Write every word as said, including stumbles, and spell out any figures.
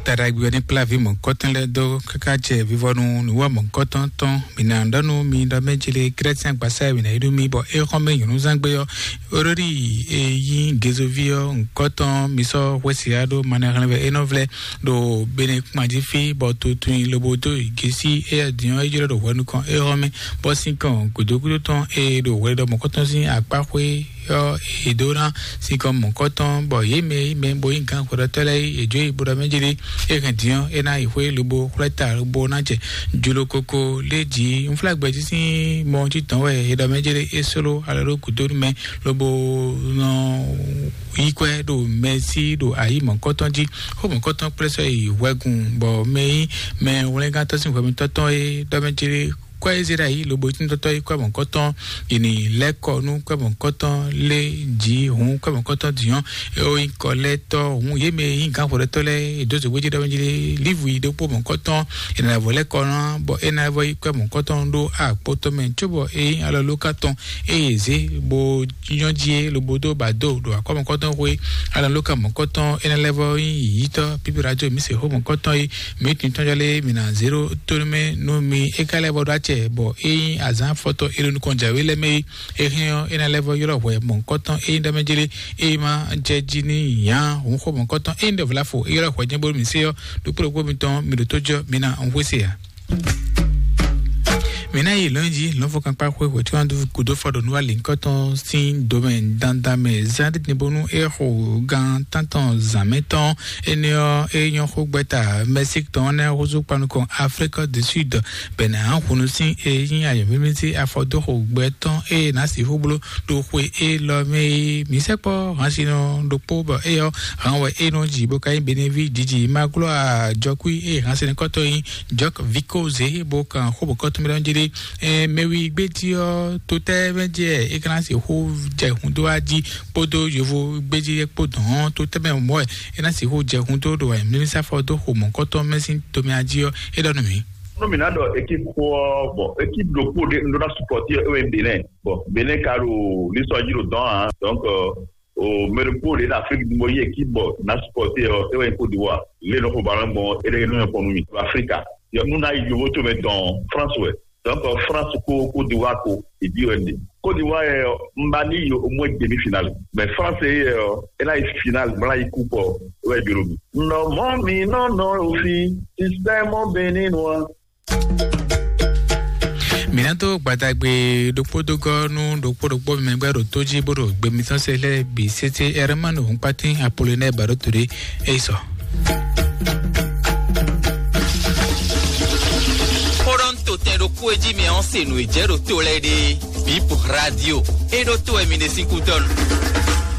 Taɖagbe ɔ́ ní kplá vǐ mɔ̌kɔtɔn lɛ́ɛ dó káká jɛ vivɔnu nǔwá mɔ̌kɔtɔn tɔn. Mǐ ná ɖɔ nú mi ɖɔ mɛ jele Grɛ́sian gbasa e mǐ ná yi nú mi bɔ é xɔ́n mɛ nyɔ̌nuzán gbe ɔ́, Róɖi e nyí Gezoví ɔ́, ŋkɔtɔn mi sɔ́ xwési ɖó manɛxlɛ́nvɛ é nɔ vlɛ́ ɖo Bene kpan jí fí, bɔ tuntun lobo dó gěsí éyɛ́ din ɔ́, é jlɔ́ ɖo hwɛ nukɔn é xɔ́n mɛ, bɔ sín kɔn gǔdo gúdo tɔn e ɖo hwɛ ɖɔ mɔ̌kɔtɔn sín akpá xwé ɔ́, è dó ná sinkɔn mɔ̌kɔtɔn, bɔ yě mɛ e mɛ bo nyí gǎn xwedɔtɔ́ lɛ́ɛ é, è jó yi bo ɖɔ mɛ jélé, é hɛn din ɔ́, é ná yi xwé lobo xwlɛ́ ta lobo ná jɛ jló koko lé jǐ. Unflágbɛjí sín mɔ títɔn wɛ è ɖɔ mɛ jélé é sló alɔ ɖó gǔdo nú mɛ, lobo nɔ yí kwɛ́ ɖo mɛ sí ɖo ayǐ mɔ̌kɔtɔn jí. Xó mɔ̌kɔtɔn kplé sɔ́ yi hwɛgun, bɔ mɛ nyí mɛ wlɛ́ngántɔ́ sín hwɛmɛtɔ́ tɔn é ɖɔ mɛ jélé kɔ Ezerayi lobo tíntɔ́tɔ́ yi kɔ mɔ̌kɔtɔn, yě ní lɛ́ kɔ nú kɔ mɔ̌kɔtɔn lé jǐ hǔn kɔ mɔ̌kɔtɔn dǐnyɔ́, é ó nyí kɔlɛ́tɔ́ hǔn yě mɛ e nyí gǎnxwlɛ́tɔ́ lɛ́ɛ, è dǒ zǒgbéjí ɖɔmɛjí lé lívu yi ɖokpó mɔ̌kɔtɔn, è nǎ vɔ lɛ́ kɔ ná, bɔ é ná vɔ yi kɔ mɔ̌kɔtɔn ɖó akpótɔ́ mɛ, cóbɔ é nyí alɔ lóka tɔn, eye zě bó nyɔ́ jí é lobo dó ba dó ɖo akɔ́ mɔ̌kɔtɔn xwé, alɔ lóka mɔ̌kɔtɔn é ná lɛ́ vɔ nyí yǐyítɔ́ pípíra jó mǐ se xó mɔ̌kɔtɔn yi. Mǐ tunwun tɔn jɔ lé mǐ ná zéro tónú mɛ nú mi é ka lɛ́ vɔ ɖó acɛ, bɔ é nyí azǎn afɔtɔn é ɖo nukɔn jǎwe lɛ́ɛ mɛ é. É hɛn ɔ́, é ná lɛ́ vɔ ylɔ́ hwɛ mɔ̌hunkɔtɔn é nyí ɖɔ mɛ jlé, é ma jɛ jí ní nyǎ hǔn xó mɔ̌hunkɔtɔn é nyí ɖɔ vlafo é ylɔ́ hwɛ jɛ́n bónú mǐ sé ɔ́, ɖokpó ɖokpó mitɔn mi ɖo tó jɔ mi ná un xwé se ǎ. Mǐ ná yi lɔ̌nyijǐ lɔ̌nfɔkankpa xwé hwɛ̌ tí wọ́n dó gǔdo fɔ ɖo nú alinkɔtɔn sín domɛ dandan mɛ zán ɖídí bónú é xo gan tántɔn zǎn mɛ tɔn. Énɛ́ ɔ́, é nyɔ́ xó gbɛ́ta Mɛsík tɔn ɔ́ nɛ́ húzú kpanukɔn Aflík du Súd, bɛ̌ ná hǔnú sín e nyí ayɔ̌mímí sín afɔdóxo gbɛ tɔn e è nǎ sixú bló ɖo xwe élɔ́ mɛ é. Mǐ sɛkpɔ́ hansinɔ ɖokpó bɔ éyɔ́ han wɛ é nɔ ji bó ka nyí Beneví jiji Maglɔ́a jɔkúí e hansinɔkɔ́tɔ́ nyí Jɔk Viko zě bó kan xó bɔ̌kɔ́ tɔn mɛ ɖɔ jí ɖé. Ɛ, mɛwi gbéjí ɔ́, to tɛ́ mɛ jɛ é ka ná sixú jɛ hun dó wá jí kpódó yovo gbéjí kpó dɔn ɔ́, to tɛ́ mɛ mɔ̌ wɛ é ná sixú jɛ hun dó ɖo ayǐmlímísáfɔ dó xo mɔ̌kɔ́tɔn mɛ sín tomɛ jí ɔ́, é ɖɔ nú mǐ. Nú mǐ ná ɖɔ équipe xó ɔ́, bon, équipe ɖokpó ɖé un ɖó ná supporter é wɛ nyí Bénin. Bon, Bénin ka ɖo lisɔ jí ɖo dɔn ǎ. Donc, euh, o mɛ ɖokpó ɖé ɖo Afrique du Nord yi équipe bɔ ná supporter ɔ́, é wɛ nyí Côte d'Ivoire. Lé nɔ xo ballon gbɔn é ɖé nɔ nyɔ́ kpɔn nú mì. Afrika. Yɔ nú ná yi yovo tso mɛ dɔn France wɛ. Donc, euh, France ko Côte d'Ivoire ko, e bi wɛ ɖe. Côte d'Ivoire yɛ, un ba ni yi au moins demi-finale. Mais France yɛ, é ná yi finale, bla yi coupe ɔ́, é wɛ jló mi. Nɔ mɔ mi nɔ nɔ ofi, système béninois. Mǐ ná dó gbadagbe ɖokpó dó gɔ́ nú ɖokpó ɖokpó mɛ gbɛ́ ɖo tó jí bó ɖo gbe mitɔn se lɛ́ɛ bǐ sétí Ɛrɛmánu Hɔnkpátín Apolonɛ́ɛ Baɖótodé é yi sɔ. Xó ɖɔ un to tɛn ɖokpó e jí mi ɔ́ se nǔ e jɛ ɖo to lɛ́ɛ ɖe. Bip Radio. É ɖó to wɛ mi ɖe sín kútɔ́ nu.